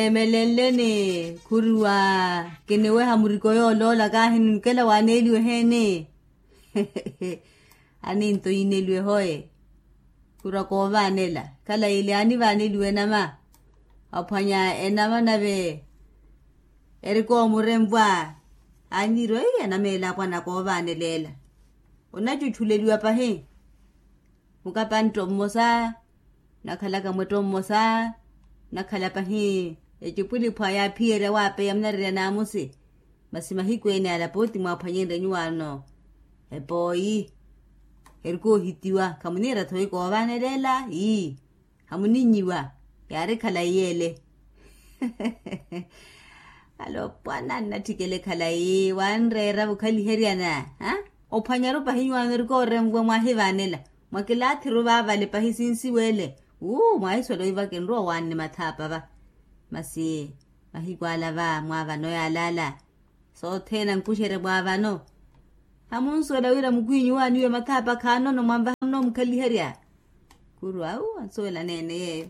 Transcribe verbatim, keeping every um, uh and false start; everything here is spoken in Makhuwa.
Emelenleni khuriwa, kiniweha muriko yooloola kahi ninkela waaneeliwe eheeni. Aninto yineeliwe hoye. Khuriwa koovaanela, khalayi ile aanivaaneliwe enama. Aphwanya enama nave erikoomurempwa. Aanyiriwa ii enama ela apwana koovaanela ela. Onachuchuleliwa pahi. Mukapani tto mmosa, nakhalaka mwetto mmosa, nakhala pahi. Ecipwiliphwa yaaphiyerya waapeya munarerya naamusi. Masi mahiku ene ala pooti mwaaphwanyenrye nyuwaano. Epooyi. Erikoohitiwa khamuniira thoyi koovanelela ii. Hamuninyiwa. Yaari khalayi yeele. Alopwana nnatthikele khalayi wanreera vukhaliheryana. Ophwanyaru pahi nyuwaano erikoorempwa mwaahivaanela. Mwakilaathiru vaavale pahi sinsiweele. Uu mwaahiswela oiva kinrowa owaanne mathaapa va. Masi mahiku ala va mwaavano yaalala. Sothene ankuxerya mwaavano. Hamunsuwela wira mukhwinyu waaniwe mathaapa khaanono mwanvaha munoomukhaliherya. Kuru awu ansuwela neene yeeyo.